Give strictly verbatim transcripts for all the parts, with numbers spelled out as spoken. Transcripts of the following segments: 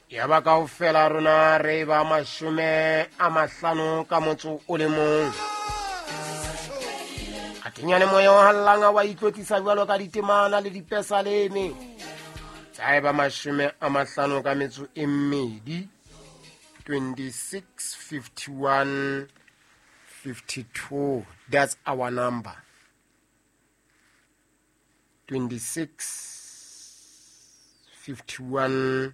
Ya ba kaofela rona re ba mashome a mahlano ka motso o le mong. Atenyane moya o hallanga wa itlotlisa jwalo ka ditemana le dipesaleme. Tsa eba mashome a mahlano ka metso e mmedi, twenty-six fifty-one fifty-two. That's our number. twenty-six fifty-one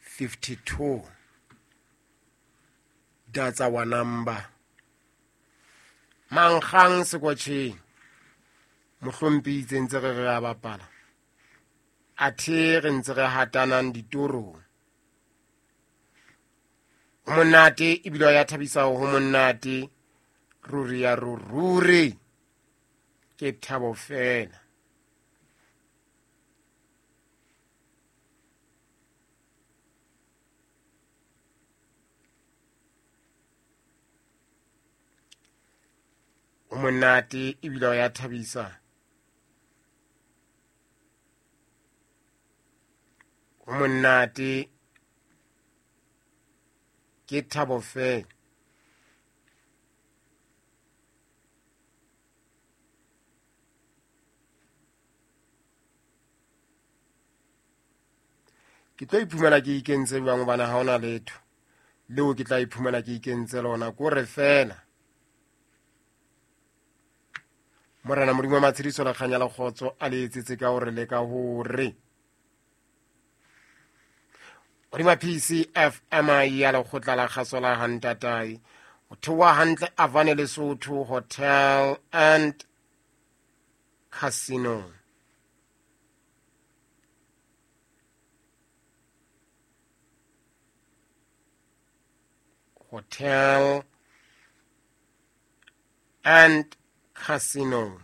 fifty-two. That's our number. Mankgang sekotjheng mohlompi itse ntse re re a bapala, athe re ntse re hatanang ditorong. Ho monate ebile ya thabisa, ho monate ruri ya ruri, ke thabo fela. Ho monate ebile ya thabisa, ho monate ke thabo fela. Ke tlo iphumana ke ikentse jwang hobane ha hona letho leo ke tla iphumana ke ikentse lona, kore fela Morena Modimo wa matshediso le kganya le kgotso a le etsetse ka hore le ka hore. Hodima P C F M I ya lekgotla la kgaso la Hantatai, ho theoha hantle Avane Lesotho Hotel and Casino. Hotel and Casino.